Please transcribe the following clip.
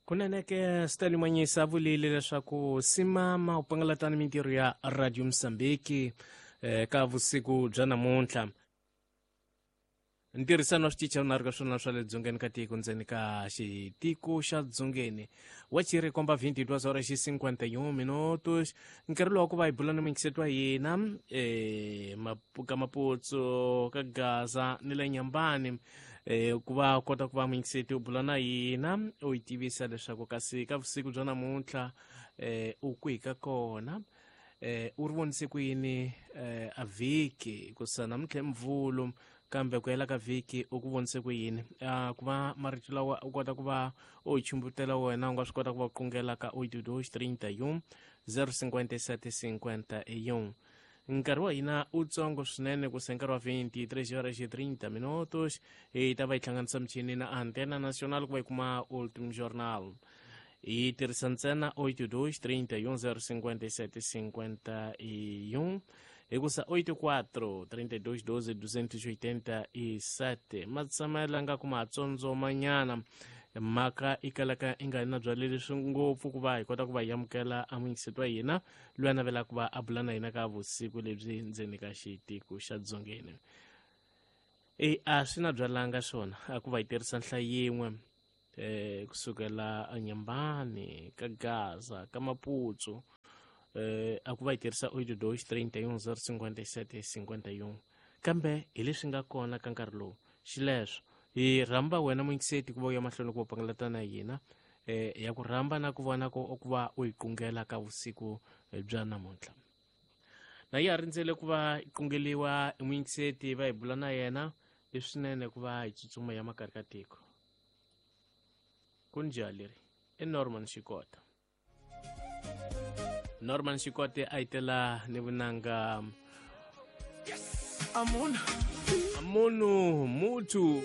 Kunene ke Stanley Manyisa a vulile leswaku simama u pangalatani mintirho ya Radio Mozambique ka vusiku bya namuntlha. Ntirhisano wa switichi vunharhu ka swona swa le dzongeni ka tiko ndzeni ka xitiko xa dzongeni wa chiri komba 22 horas xi 51 minutos. Nkarhi lowu ku va hi bula ni muyingiseti wa hina ka Maputsu, ka Gaza ni le Nyambani, ku va kota ku va muyingiseti u bula na hina u yi tivisa leswaku kasi ka vusiku bya namuntlha u kwihi ka kona, u ri vonise ku yini a vhiki kusa namuntlha i Mvulu, kambe ku hela ka vhiki u ku vonise ku yini. Ku va marito lawa u kota ku va u chumbutela wena, u nga swi kota ku va qungela ka 82 31 057 51. Nkarhi wa hina u tsongo swinene ku se nkarhi wa 23 horas e 30 minutos hi ta va hi hlanganisa michini na Antena Nacional ku va hi kuma Ultim Journal. Hi tirhisa ntsena 82 31 057 51, hikusa 84 32 12 287 ma tshamela nga ku matsotsomanyana mhaka i kalaka i nga na byale leswi ngopfu ku va hi kota ku va hi amukela amuyingiseti wa hina loyi a navelaka ku va a bula na hina ka vusiku lebyi ndzeni ka xitiko xa dzongeni. E a swi na byalanga swona a ku va hi tirhisa nhlayo yin'we kusukela eNyambani, ka Gaza, ka Maputsu, a ku va hi tirhisa 82 31 057 51, kambe hi leswi nga kona ka nkarhi lowu. Xileswo hi rhamba wena muyingiseti ku va u ya mahlweni ku va pangalata na hina, ya ku rhamba na ku vona ku va u yi qungela ka vusiku bya namuntlha. Na ya rindzele ku va yi qungeliwa i muyingiseti va hi bula na yena, i swinene ku va hi tsutsuma ya makari ka tiko. Kunjani leri i Norman Xikota. Norman Xikote a yi tela ni vunanga Amuna Amunu Mutu.